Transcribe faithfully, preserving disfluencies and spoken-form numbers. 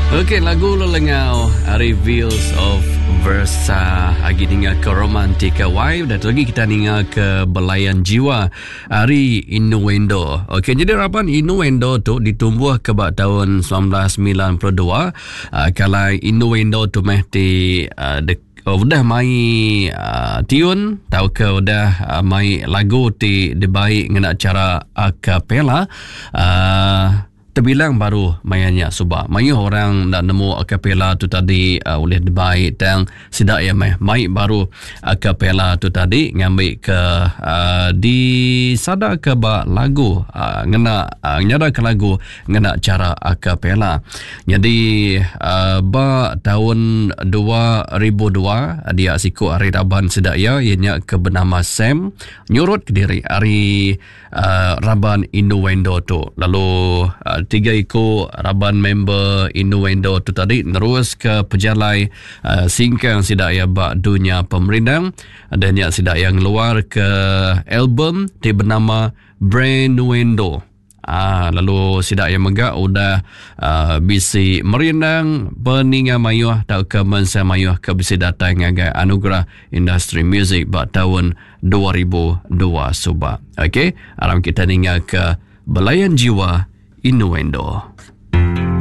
Okey, lagu Lelengau ari Veils of Versa agi ninga ke Romantika Y. Dan lagi kita ninga ke Belayan Jiwa ari Innuendo. Okey, jadi raban Innuendo tu ditumbuh ke ba tahun seribu semilan ratus semilan puluh dua. Uh, kalau Innuendo tu meh ti uh, de, oh, udah mai uh, tiun tau ke udah uh, mai lagu ti dibaik ngena cara a cappella. Uh, terbilang baru mayanya suba. Mayuh orang nak nemu a cappella tu tadi uh, oleh dibaik tang sidak ya meh mai baru a cappella tu tadi ngambil ke uh, disada ke ba lagu uh, ngena uh, nyada ke lagu ngena cara a cappella. Jadi uh, ba tahun dua ribu dua dia siku hari raban sidak ya ianya ke bernama Sam nyurut ke diri hari uh, raban Innuendo tu. Lalu uh, tiga iku raban member Innuendo tu tadi nerus ke pejalai uh, singkang sidak ya ba dunia pemerindang dan ya sidak yang luar ke album ti bernama Brainuendo. Ah, lalu sidak yang megak udah uh, bisi merindang peninga mayuh tau ke mensa mayuh ke bisi datang ngagai anugerah industri muzik ba tahun dua ribu dua suba. Okey, aram kita ninga ke Belayan Jiwa Innuendo.